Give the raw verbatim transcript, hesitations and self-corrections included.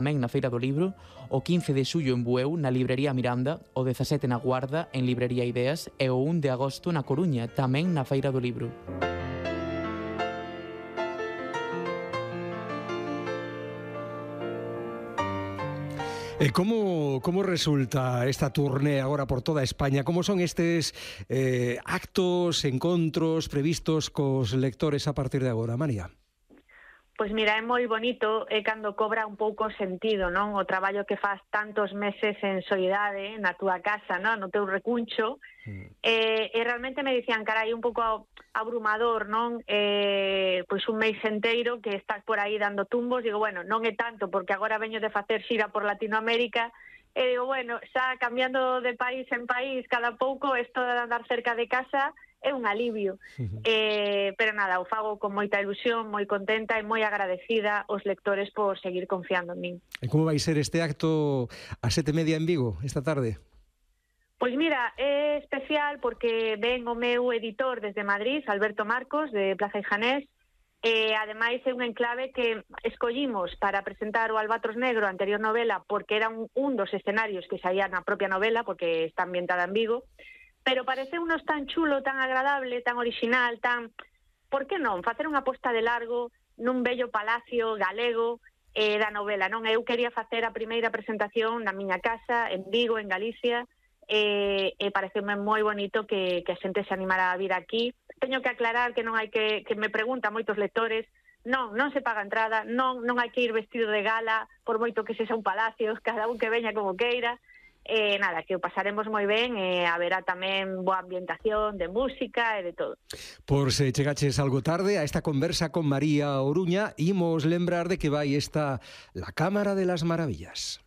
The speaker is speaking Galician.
tamén na Feira do Libro, o quince de xullo en Bueu, na Librería Miranda, o dezasete na Guarda, en Librería Ideas, e o un de agosto na Coruña, tamén na Feira do Libro. E como, como resulta esta turné agora por toda España? Como son estes eh, actos, encontros previstos cos lectores a partir de agora, María? Pois mira, é moi bonito é cando cobra un pouco sentido, non? O traballo que faz tantos meses en soidade, na túa casa, non? No teu recuncho, mm. e, e realmente me dicían, carai, un pouco abrumador, non? Eh, pois un mês enteiro que estás por aí dando tumbos, digo, bueno, non é tanto, porque agora veño de facer xira por Latinoamérica, e digo, bueno, xa cambiando de país en país cada pouco, isto de andar cerca de casa é un alivio, uh-huh. eh, pero nada, o fago con moita ilusión, moi contenta e moi agradecida aos lectores por seguir confiando en min. E como vai ser este acto a sete e media en Vigo esta tarde? Pois mira, é especial porque ven o meu editor desde Madrid, Alberto Marcos, de Plaza Ijanés, e ademais é un enclave que escollimos para presentar o Albatros Negro, a anterior novela, porque era un, un dos escenarios que saía na propia novela, porque está ambientada en Vigo, pero parece unos tan chulo, tan agradable, tan original, tan... Por que non? Facer unha posta de largo nun bello palacio galego eh, da novela, non? Eu quería facer a primeira presentación na miña casa, en Vigo, en Galicia, e, e pareceme moi bonito que, que a xente se animara a vir aquí. Teño que aclarar que non hai que... que me preguntan moitos lectores, non, non se paga entrada, non, non hai que ir vestido de gala, por moito que sexa un palacio, cada un que veña como queira. Eh, nada, que o pasaremos moi ben e eh, haberá tamén boa ambientación de música e de todo. Por se chegaches algo tarde a esta conversa con María Oruña, imos lembrar de que vai esta La Cámara de las Maravillas.